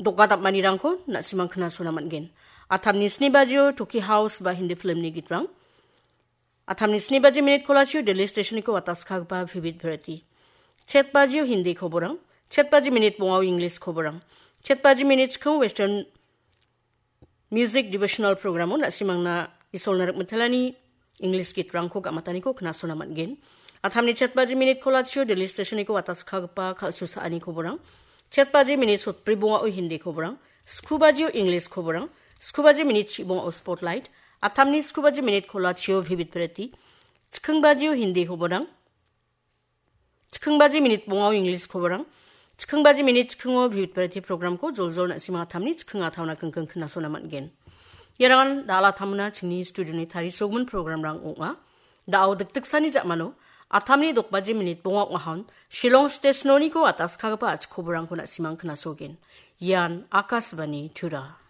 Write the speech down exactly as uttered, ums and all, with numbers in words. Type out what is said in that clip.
Doka dam·anirangko na·simang knasona man·gen. Atamni sni bajio Toki House ba Hindi filmni gitrang. Atamni sni baji minit kolachio Delhi Stationiko wataskagipa Vivid Bharati. Chet bajio Hindi koborang, chet baji minit bongao English koborang, chet baji minit chikao Western Music Devotional Programo na·simangna Isolna Rikmitelani English gitrangko gam·ataniko knasona man·gen. Atamni chet baji minit kolachio Delhi Stationiko wataskagipa kal·su sa·ani koborang, chet baji minit sotbri bongao Hindi koborang, sku bajio English koborang, sku baji minit chi bongao Spotlight, atamni sku baji minit kolachio Vivid Bharati, chiking bajio Hindi koborang, chiking baji minit bongao English koborang, chiking baji minit chikingo Vivid Bharati programko joljol na·sima atamni chiking ataona kingking knasona man·gen. Iarangan dal·a tamna chingni studioni tarisogmin programrang ong·a. Da·o dikdiksani ja·mano atamni dok baji minit bonga ong·ahon Shillong Stationoniko ataskagipa a·chik koborangko na·simang knasogen. Ian Akashvani Tura.